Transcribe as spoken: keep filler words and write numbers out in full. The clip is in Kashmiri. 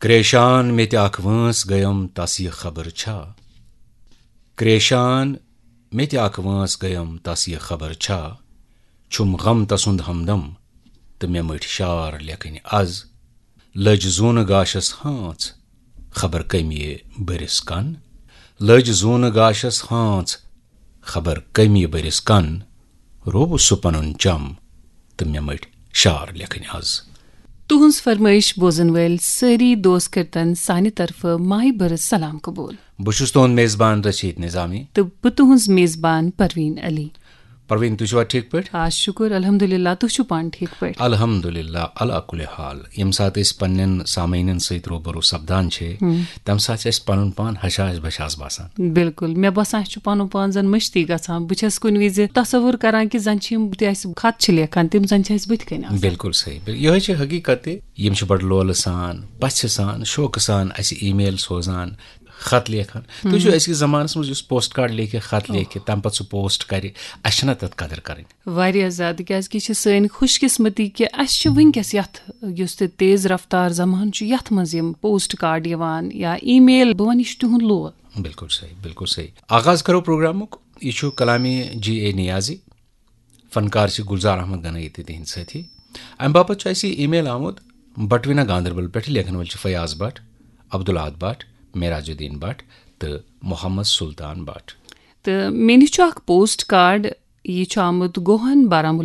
پریشان مےٚ تہِ اکھ وٲنٛس گٔیم، تس یہِ خبر چھا؟ کریشان مےٚ تہِ اکھ وٲنٛس گٔیم، تس یہِ خبر چھا؟ چھُم غم تسُنٛد ہمدم، تہٕ مےٚ مٔٹھۍ شار لیکھٕنۍ از۔ لٔج زوٗنہٕ گاشس ہانٛژ، خبر کٔمۍ یہِ بٔرِس کن۔ لٔج زوٗنہٕ گاشس ہانٛژ، خبر کٔمۍ یہِ بٔرِس کن۔ روو سُہ پنُن چم، تہٕ مےٚ مٔٹھۍ شار لیکھٕنۍ از۔ تُہٕنٛز فرمٲیش بوزن وٲلۍ سٲری دوست کٔرتن سانہِ طرفہٕ مایہِ بٔرٕژ سلام قبول۔ بہٕ چھُس تُہُنٛد میزبان رشید نظامی۔ تہٕ بہٕ تُہٕنٛز میزبان پروین علی۔ پروین، تُہۍ چھِوا ٹھیٖک پٲٹھۍ؟ آ، شُکُر الحمدللہ، تُہۍ چھِو پانہٕ ٹھیٖک پٲٹھۍ؟ الحمدللہ، علی کل حال۔ ییٚمہِ ساتہٕ أسۍ پننٮ۪ن سامعیٖنن سۭتۍ روبرو سپدان چھِ، ہم۔ تَمہِ ساتہٕ چھِ اَسہِ پنُن پان ہشاش بشاش باسان۔ بِلکُل، مےٚ باسان، اَسہِ چھُ پنُن پان زن مٔشتٕے گژھان۔ بہٕ چھَس کُنہِ وِزِ تصور کران کہِ زن چھِ یِم تہِ اَسہِ خط چھِ لیکھان، تِم زن چھِ اَسہِ بٕتھِ کنہِ آسان۔ بِلکُل صحیح۔ بِل-، یِہوٚے چھِ حقیٖقت تہِ۔ یِم چھِ بڑٕ لولہٕ سان، پژھِ سان، شوقہٕ سان اَسہِ email سوزان، خط لیکھان۔ تُہۍ چھِو أزکِس زمانس منٛز یُس پوسٹ کارڈ لیکھِ، خط لیکھِ، تَمہِ پتہٕ سُہ پوسٹ کرِ، اَسہِ چھَنہ تَتھ قدر کرٕنۍ؟ واریاہ زیادٕ، کیازکہِ یہِ چھِ سٲنۍ خوش قسمتی کہِ اَسہِ چھِ وٕنکیٚس یَتھ، یُس تہِ تیز رفتار زمانہٕ چھُ، یَتھ منٛز یِم پوسٹ کارڈ یِوان یا email، بہٕ وَنہٕ، یہِ چھُ تِہُنٛد لول۔ بِلکُل صحیح، بِلکُل صحیح۔ آغاز کرو پروگرامُک۔ یہِ چھُ کلامی جی اے نیازی، فنکار چھِ گُلزار احمد گنایی تہِ تِہِنٛدۍ سٲتھی۔ اَمہِ باپتھ چھُ اَسہِ یہِ email آمُت بٹوِنہ گاندربل پٮ۪ٹھ، لیکھن وٲلۍ چھِ فیاض بٹ، عبدالاحد بٹ، معراج الدین بٹ تہٕ محمد سلطان بٹ۔ تہٕ مےٚ نِش چھُ اکھ پوسٹ کارڈ، یہِ چھُ آمُت گوہن، بارہمولہ